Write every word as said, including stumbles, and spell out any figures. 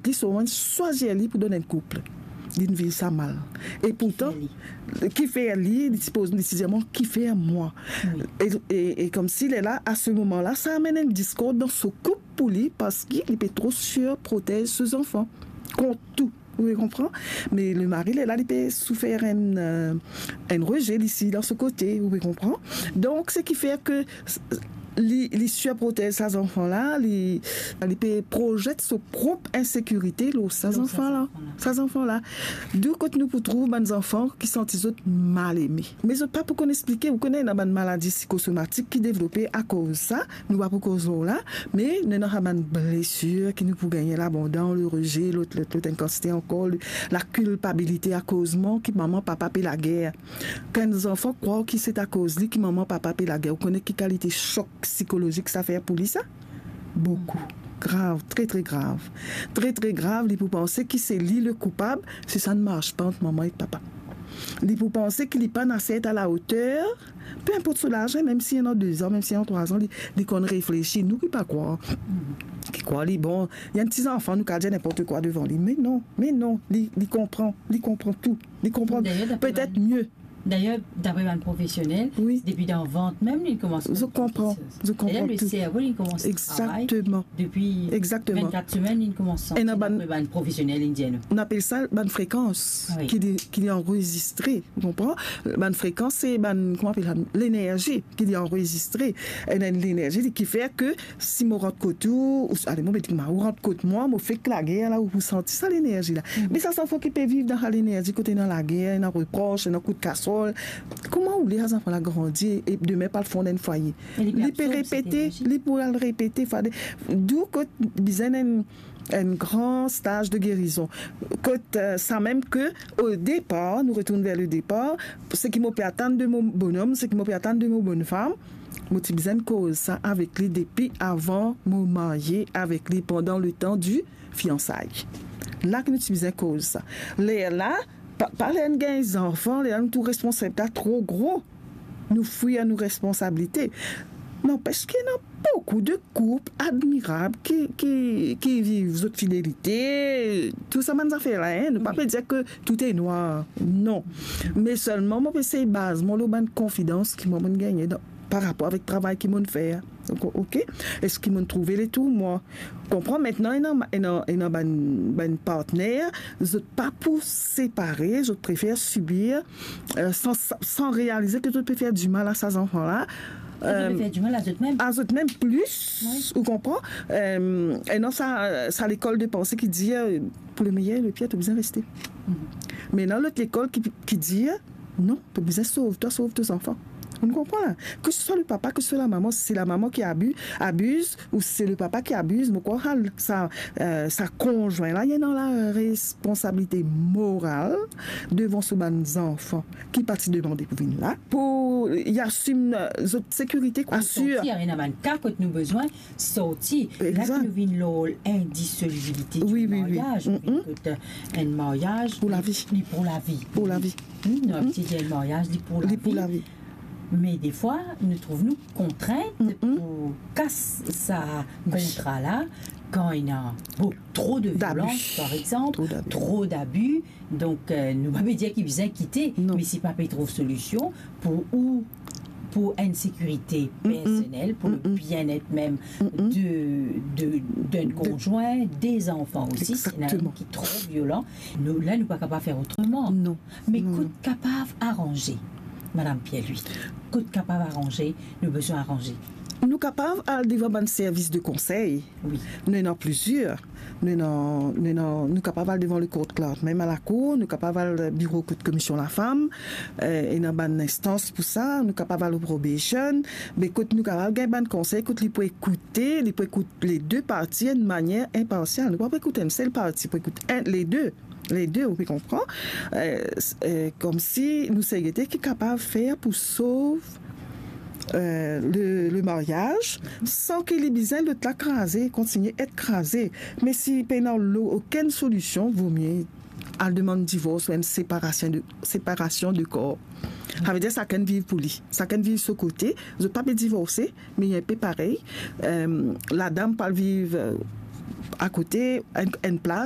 li, so swazir li pou donn enn koup. Li'nn viv sa mal. E pourtan, ki fer li, li ti poz, li ti dir mwa, ki fer mwa? Wi. E, e, e koumsi lerla, a se moman la, sa amenn enn diskord dan so koup pou li, parski li pe tro sirprotez so zanfan kont tou. Ou pe konpran? Me lemari, lerla, li pe soufer enn, eh, enn reze, li si dan so kote, ou pe konpran? Donk, seki fer ke s-, li, li sirprotez sa zanfan la, li, li pe prozet so prop insekirite lor sa zanfan la. Sa zanfan la. Dou kot nou pou trouv bann zanfan ki santi zot mal eme. Me zot pa pou konn explike, ou kone, ena bann maladi psikosomatik ki devlope akoz sa, nou pa pou koz lor la, me nou ena sa bann blesir ki nou pou gagne la, abandon, le rejet, lot, lot, lot, enn kantite ankor, le, lakilpabilite akoz mank manman, papa pe lager. Kan enn zanfan krwar ki se akoz li ki manman, papa pe lager, ou kone ki kalite sok psikolozik sa fer pou li sa? Boukou. Grav, tre, tre grav. Tre, tre grav, li pou panse ki se li le koupab si sa ne mars pa ant manman ek papa. Li pou panse ki li pa'nn ase et a la oter, pe inport so laz, mem si ena de zan, mem si ena trwa zan, li, li konn reflesi, nou ki pa krwar. Ki krwar li, bon, li enn ti zanfan, nou kapav dir ninport kwa devan li. Me non, me non, li, li konpran, li konpran tou. Li konpran petet mie. Dayer, dapre bann profesionel, wi, depi dan vant mem, li koumans konpran kiksoz. Zot konpran tou. Dayer, le servo, li koumans travay depi vennkat semenn, li koumans santi, dapre bann profesionel, li dir nou. Nou apel sa bann frekans ki li, ki li anrezistre, ou konpran? Bann frekans, se bann, kouma apel sa? Lenerzi ki li anrezistre. Enn, enn lenerzi ki fer ke si mo rant kot ou, ou, ale, mo pe dir kouma, ou rant kot mwa, mo fek lager la, ou pou santi sa lenerzi la. Me sa zanfan ki pe viv dan sa lenerzi kot ena lager, ena repros, ena kout kasrol, kouma ou le sa zanfan la grandi e demin pou al fonn enn fwaye? Li pe repete, li pou al repete, fade. Dou kot bizin enn, enn gran staz de gerizon. Kot, eh, sa mem ke, o depar, nou retourn ver le depar, seki mo pe atann de mo bonom, seki mo pe atann de mo bonnfam, mo ti bizin koz sa avek li depi avan mo marye avek li, pandan letan di fiansay. La ki nou ti bizin koz sa. Lerla, pa, pa ler nou gagn zanfan, lerla nou trouv responsabilite la tro gro. Nou fwir nou responsabilite. Nanpes ki ena boukou de koup admirab ki, ki, ki viv zot fidelite, tou sa bann zafer la, en. Nou pa pe dir ke tou e nwar, non. Me selman, mo pe sey baz mwa lor bann konfidans ki mwa, mo'nn gagne dan, par rapor avek travay ki mo'nn fer. Donk, ok? Eski mo'nn trouve letour mwa? Konpran? Aster, ena, ena, ena bann, bann partner, zot pa pou separe, zot prefer sibir, eh, san, san realize ke zot pe fer dimal a sa zanfan la. Zot pe fer dimal a zot mem. A zot mem plis, ou konpran? Eh, ena sa, sa lekol de panse ki dir, eh, pou le meyer e le pier, to bizin reste. Me ena lot lekol ki, ki dir, non, to bizin sov twa, sov to zanfan. Ou konpran la? Ke se swa le papa, ke se swa la mama, si se la mama ki abi-, abiz, ou si se le papa ki abiz, mo krwar sa, eh, sa konzwin la, li ena la responsabilite moral devan so bann zanfan ki pa ti demande pou vinn la, pou li asim, eh, zot sekirite, asir. Sorti, ena bann ka kot nou bizin sorti. La ki nou vinn lor lindisolubilite di maryaz, nou vinn kot enn maryaz pou lavi. Li pou lavi. Pou lavi. Nou abitid dir maryaz, li pou lavi. Me defwa, nou trouv nou kontrint pou kas sa kontra la, kan ena, bon, tro de violans, par exanp, tro dabi. Donk, eh, nou pa pe dir ki bizin kite, me si pa pe trouv solision pou ou, pou enn sekirite personel, pou le bienet mem de, de, de konzwin, de zanfan osi, si ena enn ki tro violan, nou, la, nou pa kapav fer otreman. Non. Me kot kapav aranze, Madam Pierre-Louis? Kot kapav aranze, nou bizin aranze. Nou kapav al devan bann servis de konsey. Wi. Nou ena plizier. Nou ena, nou ena, nou kapav al devan le court clerk, mem a lakour, nou kapav al biro kot Komisyon Lafam, eh, ena bann instans pou sa, nou kapav al probation, me kot nou kapav gagn bann konsey, kot li pou ekoute, li pou ekout le de parti enn manier inparsial. Nou pa pou ekout enn sel parti, pou ekout enn, le de. Le de, ou pe konpran? Eh, s-, eh, koumsi nou sey gete ki kapav fer pou sov, eh, le, le maryaz, san ki li bizin lot la kraze, kontigne et kraze. Me si pena lo-, okenn solision, vomie al demann divors ou enn separasion de, separasion de kor. Savedir sakenn viv pou li. Sakenn viv so kote, zot pa pe divorse, me li enpe parey. Eh, ladam pou al viv, eh, akote, enn, enn plas,